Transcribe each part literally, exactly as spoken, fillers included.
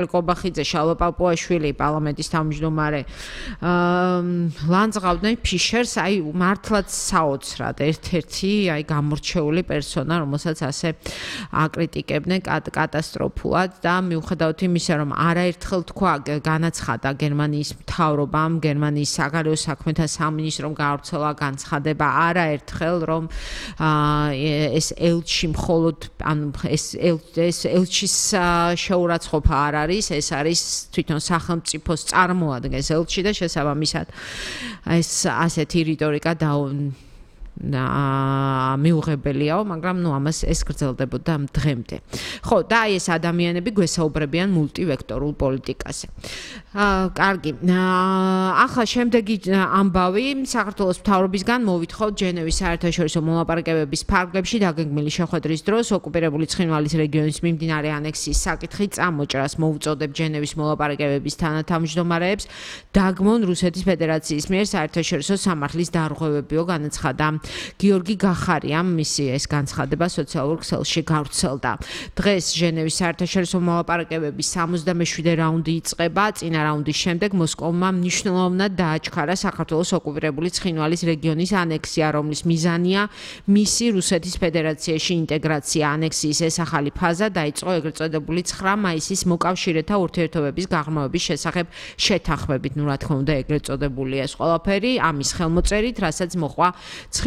კობახიძე, შალვა პაპუაშვილი, პარლამენტის თავმჯდომარე ლანძღავდნენ ფიშერს, აი მართლაც საოცრად ერთ-ერთი აი გამორჩეული პერსონა, რომელსაც ასე აკრიტიკებდნენ კატასტროფულად და მიუხედავად იმისა, რომ არაერთხელ თქვა, განაცხადა გერმანიის მთავრობამ, გერმანიის საგარეო საქმეთა სამინისტრომ გაავრცელა განცხადება არაერთხელ, რომ ეს ელჩი მხოლოდ ანუ ეს ეს ელჩის შეურაცხყოფა არ არის ეს არის თვითონ სახელმწიფოს წარმოადგენს ელჩი და შესაბამისად ეს ასეთი რიტორიკა და მიუღებელიაო, მაგრამ ნუ ამას ეს გრძელდებოდა დღემდე. ხო, და აი ეს ადამიანები გვესაუბრებიან მულტივექტორულ პოლიტიკაზე. აა, კარგი. ახლა შემდეგი ამბავი საქართველოს მთავრობისგან მოვითხოვთ ჟენევის საერთაშორისო მოლაპარაკებების ფარგლებში დაგეგმილი შეხვედრის დროს ოკუპირებული ცხინვალის რეგიონის მიმდინარე ანექსიის საკითხი წამოჭრას მოუწოდებ ჟენევის მოლაპარაკებების თანათავმჯდომარეებს დაგმონ რუსეთის ფედერაციის მიერ საერთაშორისო სამართლის დარღვევებიო განაცხადა. გიორგი გახარიამ მისი ეს განცხადება სოციალურ ქსელში გავრცელდა. დღეს ჟენევის საერთაშორისო მოლაპარაკებების სამოცდამეშვიდე რაუნდი იწყება. წინა რაუნდის შემდეგ მოსკოვმა მნიშვნელოვნად დააჩქარა საქართველოს ოკუპირებული ცხინვალის რეგიონის ანექსია, რომლის მიზანია მისი რუსეთის ფედერაციაში ინტეგრაცია. ანექსიის ეს ახალი ფაზა დაიწყო ეგრეთ წოდებული ცხრა მაისის მოკავშირეთა ურთიერთობების გაღრმავების შესახებ შეთანხმებით. ნუ რა თქმა უნდა ეგრეთ წოდებული ეს ყველაფერი ამის ხელმოწერით, რასაც მოყვა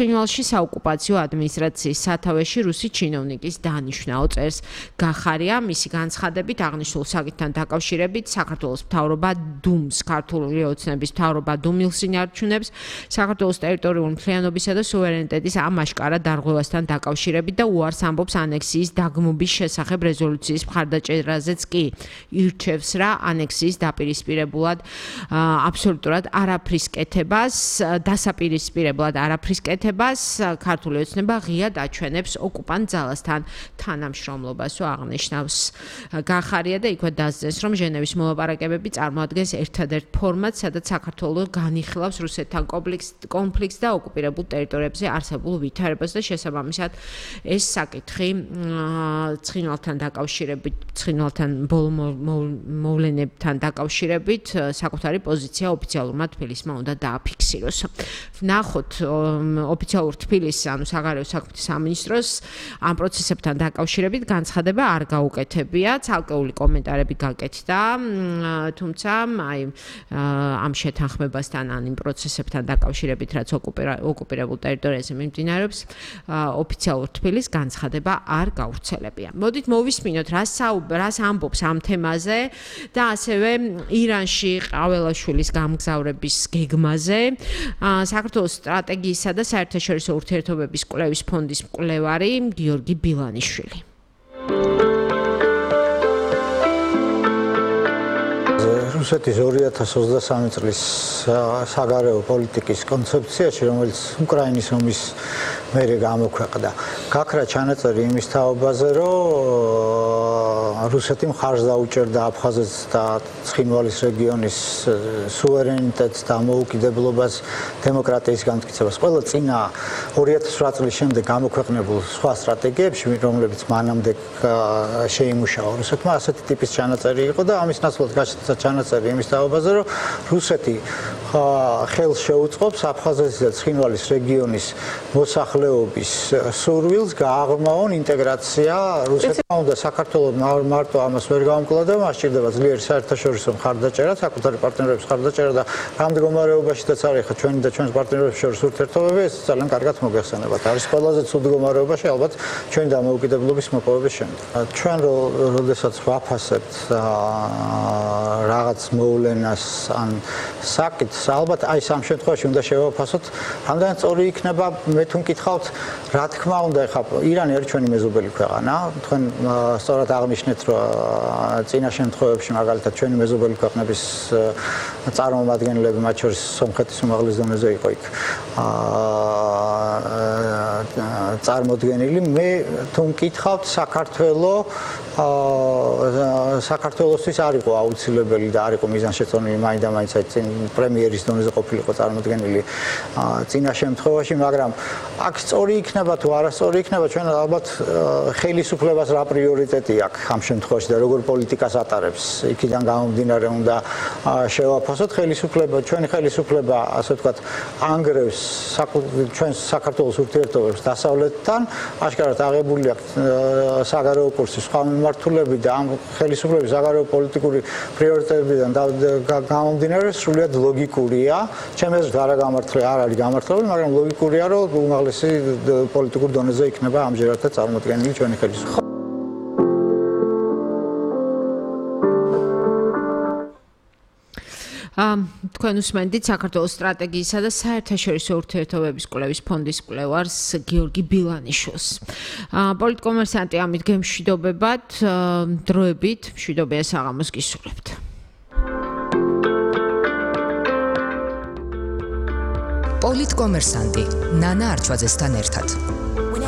ცხინვალში საოკუპაციო ადმინისტრაციის სათავეში რუსი ჩინოვნიკის დანიშვნაო წერს გახარია. მისი განცხადებით აღნიშნულ საკითხთან დაკავშირებით საქართველოს მთავრობა დუმს, ქართული ოცნების მთავრობა დუმილს ინარჩუნებს საქართველოს ტერიტორიული მთლიანობისა და სუვერენიტეტის ამ აშკარა დარღვევასთან დაკავშირებით და უარს ამბობს ანექსიის დაგმობის შესახებ რეზოლუციის მხარდაჭერაზეც კი ირჩევს რა ანექსიის დაპირისპირებულად აბსოლუტურად არაფრის კეთებას, დასაპირისპირებლად არაფრის კეთებას ქართული ოცნება ღიად აჩვენებს ოკუპანტ ძალასთან თანამშრომლობასო აღნიშნავს გახარია და იქვე დასძენს, რომ ჟენევის მოლაპარაკებები წარმოადგენს ერთადერთ ფორმატს, სადაც საქართველო განიხილავს რუსეთთან კონფლიქტს და ოკუპირებულ ტერიტორიებზე არსებულ ვითარებას და შესაბამისად ეს საკითხი ცხინვალთან დაკავშირებით, ცხინვალთან ბოლო მოვლენებთან დაკავშირებით საკუთარი პოზიცია ოფიციალურმა თბილისმა უნდა დააფიქსიროს. ვნახოთ ოფიციალურ თბილისს, ანუ საგარეო საქმეთა სამინისტროს ამ პროცესებთან დაკავშირებით განცხადება არ გაუკეთებია, ცალკეული კომენტარები გაკეთდა, თუმცა აი ამ შეთანხმებასთან ან იმ პროცესებთან დაკავშირებით, რაც ოკუპირებულ ტერიტორიაზე მიმდინარეობს, ოფიციალურ თბილისს განცხადება არ გავრცელებია. მოდით მოვისმინოთ, რას რას ამბობს ამ თემაზე და ასევე ირანში ყაველაშვილის გამგზავრების გეგმაზე. საქართველოს სტრატეგიისა და საერთაშორისო ურთიერთობების კვლევის ფონდის მკვლევარი გიორგი ბილანიშვილი. რუსეთის ორი ათას ოცდასამი წლის საგარეო პოლიტიკის კონცეფციაში, რომელიც უკრაინის ომის მერე გამოქვეყნდა, გაქრა ჩანაწერი იმის თაობაზე, რომ რუსეთი მხარს დაუჭერდა აფხაზეთს და ცხინვალის რეგიონის სუვერენიტეტს და მოუკიდებლობას, დემოკრატიის განმტკიცებას. ყველა წინა ორი ათას ოთხ წლის შემდეგ გამოქვეყნებულ სხვა სტრატეგიებში, რომლებიც მანამდე შეიმუშავა რუსეთმა, ასეთი ტიპის ჩანაწერი იყო და ამის ნაცვლად გაჩნდა ჩანაწერი იმის თაობაზე, რომ რუსეთი ხელს შეუწყობს აფხაზეთის და ცხინვალის რეგიონის მოსახლეობის სურვილს გააღრმავონ ინტეგრაცია რუსეთმა უნდა საქართველოს მარტო ამას ვერ გამკლავდა, მას სჭირდება ძლიერი საერთაშორისო მხარდაჭერა, საკუთარი პარტნიორების მხარდაჭერა და ამ მდგომარეობაშიც არის ხა ჩვენი და ჩვენს პარტნიორებს შორის ურთიერთობები, ეს ძალიან კარგად მოგეხსენებათ. არის ყველაზე ცუდ მდგომარეობაში ალბათ ჩვენი დამოუკიდებლობის მოპოვების შემდეგ. ჩვენ როდესაც ვაფასებთ რაღაც მოვლენას ან საკითხს, ალბათ აი სამ შემთხვევაში უნდა შევაფასოთ, რამდენად სწორი იქნება, მე თუ მკითხავთ, რა თქმა უნდა, ეხლა ირანი არის ჩვენი მეზობელი ქვეყანა, თქვენ სწორად აღნიშნეთ, რომ წინა შემთხვევებში მაგალითად ჩვენი მეზობელი ქვეყნების წარმომადგენლები, მათ შორის სომხეთის უმაღლეს დონეზე იყო იქ წარმოდგენილი. მე თუ მკითხავთ, საქართველო საქართველოსთვის არ იყო აუცილებელი და არ იყო მიზანშეწონილი მაინდა-მაინც წინ პრემიერის დონეზე ყოფილიყო წარმოდგენილი წინა შემთხვევაში, მაგრამ აქ სწორი იქნება თუ არასწორი იქნება, ჩვენ ალბათ ხელისუფლებას რა პრიორიტეტი აქვს ამ შემთხვევაში და როგორ პოლიტიკას ატარებს. იქიდან გამომდინარე უნდა შევაფასოთ ხელისუფლება, ჩვენი ხელისუფლება, ასე ვთქვათ, ანგრევს ჩვენს საქართველოს ურთიერთობებს დასავლეთთან, აშკარად აღებული აქვს საგარეო კურსის სხვა მიმართულები და ამ ხელისუფლების საგარეო პოლიტიკური პრიორიტეტებიდან გამომდინარე სრულიად ლოგიკურია. ჩემს აზრით არა გამართლება, არ არის გამართლებული, მაგრამ ლოგიკურია, რომ უმაღლესი პოლიტიკურ დონეზე იქნება ამჯერადაც წარმოდგენილი ჩვენი ხელისუფლება. თქვენ უსმენთ საქართველოს სტრატეგიისა და საერთაშორისო ურთიერთობების კვლევის ფონდის კვლევარს გიორგი ბილანიშვილს. პოლიტკომერსანტი ამით გემშვიდობებად, დროებით მშვიდობიან საღამოს გისურვებთ. პოლიტკომერსანტი ნანა არჩვაძესთან ერთად.